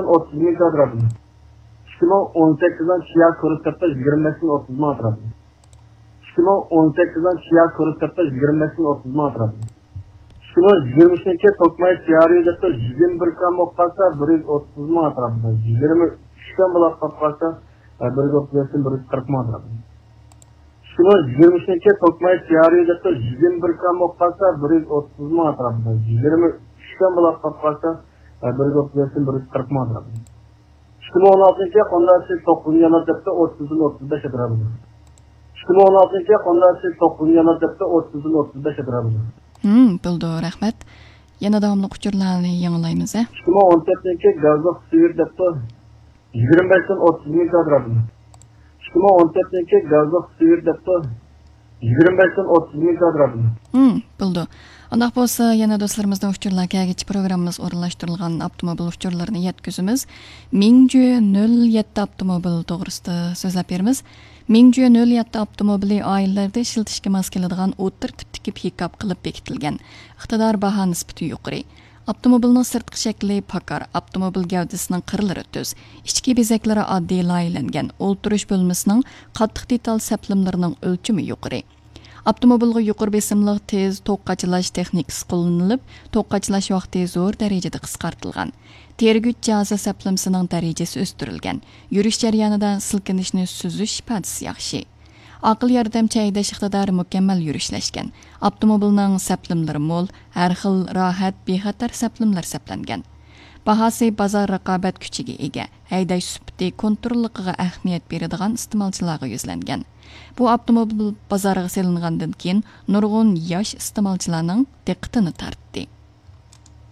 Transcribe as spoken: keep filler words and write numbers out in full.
ئوتتۇز مىڭ كۋادراتمېتىر. ئىككى مىڭ ئون سەككىزنىڭ چىيا كۇرسى ھەپتە يىگىرمە بەشتىن ئوتتۇز مىڭ ئەتراپىدا. ئىككى مىڭ ئون سەككىزنىڭ چىيا كۇرسى ھەپتە يىگىرمە بەشتىن ئوتتۇز مىڭ ئەتراپىدا. ئىككى مىڭ يىگىرمە ئۈچنىڭكى توكماي چىيا ريۇ دەپتۇ يىگىرمە بىر گرام بولۇپ قالسا، بىر يۈز ئوتتۇز مىڭ ئەتراپىدا. يىگىرمە ئۈچ گرام بولۇپ قالسا، بىر يۈز ئوتتۇز بەشتىن بىر يۈز قىرىق مىڭ ئەتراپىدا. ئىككى مىڭ يىگىرمە ئۈچنىڭكى توكماي چىيا ريۇ دەپتۇ يىگىرمە بىر گرام بولۇپ قالسا، بىر يۈز ئوتتۇز مىڭ ئەتراپىدا. يىگىرمە ئۈچ گرام بولۇپ قالسا، بىر يۈز ئوتتۇز بەشتىن بىر يۈز قىرىق مىڭ ئەتراپىدا. ئىككى مىڭ ئون ئالتىنچى يىل قونداقچى توققۇزىنچى يىل دەپتۇ ئوتتۇزدىن ئوتتۇز بەش ئەتراپىدا. ئىككى مىڭ ئون ئالتىنچى يىل قونداقچى توققۇزىنچى يىل دەپتۇ ئوتتۇزدىن ئوتتۇز بەش ئەتراپىدا. ھىم، بولىدۇ، رەھمەت. يەنە داۋاملىق ئۇچۇرلارنى ياڭلايمىز، ھە؟ ئىككى مىڭ ئون تۆتنىڭكى گازلىق سۈيۈر دەپتۇ يىگىرمە بەشتىن ئوتتۇز مىڭ كۋادراتمېتىر. ئىككى مىڭ ئون تۆتنىڭكى گازلىق سۈيۈر دەپتۇ يىگىرمە بەشتىن ئوتتۇز مىڭ كۋادراتمېتىر. ھىم، بولىدۇ. ئانداق بولسا، يەنە دوستلىرىمىزدىن ئۇچۇرلار كەلگىچە پروگراممىمىز ئورۇنلاشتۇرۇلغان ئاپتوموبىل ئۇچۇرلىرىنى يەتكۈزىمىز. مىڭجۈ نۆل يەتتە ئاپتوموبىل توغرىسىدا سۆزلەپ بېرىمىز. مىڭجۈ نۆل يەتتە ئاپتوموبىلى ئائىلىلەردە ئىشلىتىشكە ماس كېلىدىغان ئوتتۇرا تىپتىكى پىكاپ قىلىپ بېكىتىلگەن. ئىقتىدار، باھا نىسبىتى يۇقىرى. ئاپتوموبىلنىڭ سىرتقى شەكلى پاكار، ئاپتوموبىل گەۋدىسىنىڭ قىرلىرى تۈز، ئىچكى بېزەكلىرى ئاددىي لايىھەلەنگەن، ئولتۇرۇش بۆلمىسىنىڭ قاتتىق دېتال سەپلىمىلىرىنىڭ ئۆلچىمى يۇقىرى. ئاپتوموبىلغا يۇقىرى بېسىملىق تېز توك قاچىلاش تېخنىكىسى قوللىنىلىپ، توك قاچىلاش ۋاقتى زور دەرىجىدە قىسقارتىلغان. تېرىگۈچ جاھازى سەپلىمىسىنىڭ دەرىجىسى ئۆستۈرۈلگەن. يۈرۈش جەريانىدا سىلكىنىشنى سۈزۈش ئىپادىسى ياخشى. ئاقىل ياردەمچى ھەيدەش ئىقتىدارى مۇكەممەل يۈرۈشلەشكەن. ئاپتوموبىلنىڭ سەپلىمىلىرى مول، ھەر خىل راھەت، بىخەتەر سەپلىمىلەر سەپلەنگەن. باھاسى بازار رىقابەت كۈچىگە ئىگە، ھەيدەش سۈپىتى، كونتروللۇقىغا ئەھمىيەت بېرىدىغان ئىستېمالچىلارغا يۈزلەنگەن. بۇ ئاپتوموبىل بازارغا سېلىنغاندىن كېيىن، نۇرغۇن ياش ئىستېمالچىلارنىڭ دىققىتىنى تارتتى.